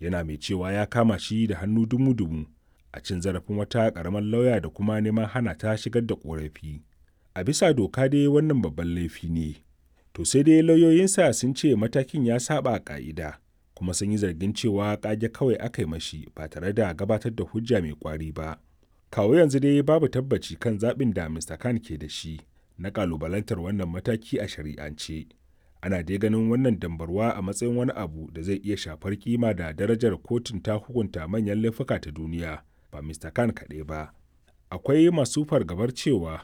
Yana mai cewa ya kama shi da hannu dumu-dumu a cin zarafin wata ƙaramar lauya da kuma neman hana ta shigar da ƙorafi. A bisa doka dai wannan babban laifi ne. To sai dai lauyoyinsa sun ce matakin ya saba ƙa'ida kuma sun yi zargin cewa ƙage kawai aka yi mashi ba tare da gabatar da hujja mai ƙwari ba. Kawo yanzu dai babu tabbaci kan zaɓin da Mr. Khan ke da shi na ƙalubalantar wannan mataki a shari'ance. Ana dai ganin wannan dambarwa a matsayin wani abu da zai iya shafar kima da darajar kotun ta hukunta manyan laifuka ta duniya ba Mr. Khan kaɗai ba. Akwai masu fargabar cewa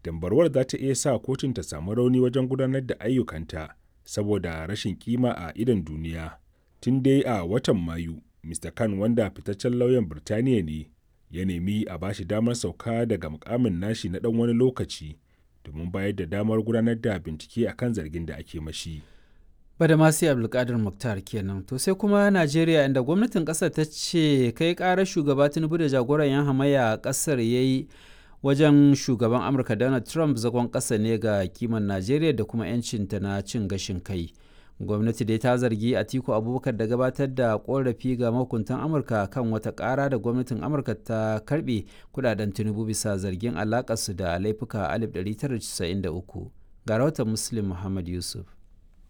dambarwar za ta iya sa kotun ta samu rauni wajen gudanar da ayyukanta saboda rashin kima a idon duniya. Tun dai a watan Mayu, Mr. Khan wanda fitaccen lauyan Birtaniya ne, ya nemi a bashi damar sauka daga mukamin nashi na ɗan wani lokaci domin bayar da damar gudanar da bincike akan zargin da ake mashi. Badamasi Abdulkadir Mukhtar kenan. To sai kuma Najeriya, inda gwamnatin ƙasar ta ce kai ƙarar shugaba Tinubu da jagoran 'yan hamayya a ƙasar ya yi wajen shugaban Amurka Donald Trump zagon ƙasa ne ga kiman Najeriya da kuma 'yancinta na cin gashin kai. Gwamnati dai ta zargi Atiku Abubakar da gabatar da korafi ga mahukuntan Amurka kan wata ƙara da gwamnatin Amurka ta karbe kudaden Tinubu bisa zargin alakarsu da laifuka 1993. Ga rahoton Muslim Muhammad Yusuf.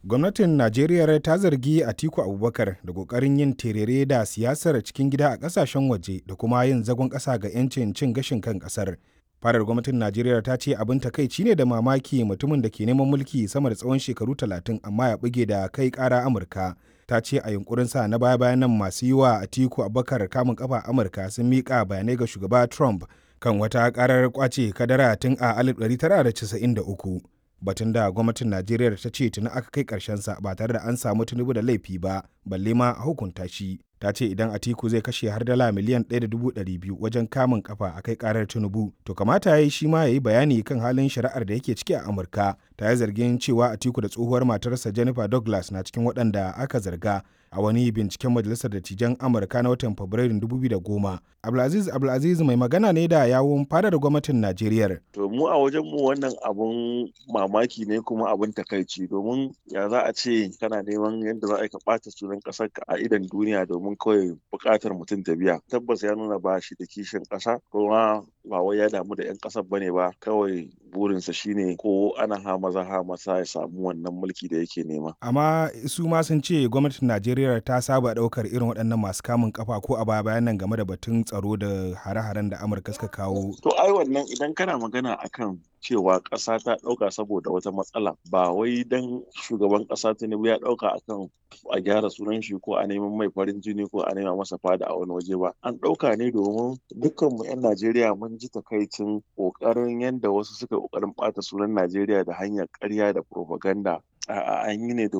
Gwamnatin Najeriya ta zargi Atiku Abubakar da kokarin yin terere da siyasar cikin gida a kasashen waje da kuma yin zagon ƙasa ga 'yancin cin gashin kan ƙasar. Farar gwamnatin Najeriya ta ce abin takaici ne da mamaki mutumin da ke neman mulki sama da tsawon shekaru 30 amma ya buge da kai kara Amurka. Ta ce a yunkurin sa na baya bayan nan masu yi wa Atiku Abubakar kamun kafa Amurka sun miƙa bayanai ga shugaba Trump kan wata karar kwace kadara tun a 1993. Batun da gwamnatin Najeriya ta ce tuni aka kai karshen sa ba tare da an samu Tinubu da laifi ba, balle ma a hukunta shi. Ta ce idan Atiku zai kashe har dala miliyan 1.200 wajen kamun kafa a kai karar Tinubu, to kamata ya yi shi ma ya yi bayani kan halin shari'ar da yake ciki a Amurka. Ta yi zargin cewa Atiku da tsohuwar matarsa Jennifer Douglas na cikin waɗanda aka zarga a wani binciken Majalisar Dattijan Amurka na watan Fabrairun 2010. Abdulaziz Abdulaziz mai magana ne da yawun fadar gwamnatin Najeriya. To mu a wajen mu wannan abun mamaki ne kuma abun takaici, domin ya za a ce kana neman yadda za a ka ɓata sunan ƙasar ka a idon duniya domin kawai buƙatar mutum ta biya. Tabbas ya nuna ba shi da kishin ƙasa, kuma ba wai ya damu da 'yan ƙasar bane ba, kawai burinsa shine ko ana ha maza ha masa ya samu wannan mulki da yake nema. Amma su ma sun ce gwamnatin Najeriya ta saba ɗaukar irin waɗannan masu kamun kafa ko a baya bayan nan game da batun tsaro da hare-haren da Amurka suka kawo. To ai wannan idan kana magana akan cewa ƙasa ta ɗauka saboda wata matsala, ba wai dan shugaban ƙasa Tinubu ya ɗauka akan a gyara sunan shi ko a neman mai farin jini ko a nema masa fada a wani waje ba. An ɗauka ne domin dukkan mu 'yan Najeriya mun ji takaicin ƙoƙarin yadda wasu suka ƙoƙarin ɓata sunan Najeriya da hanyar ƙarya da propaganda. A'a, an yi ne domin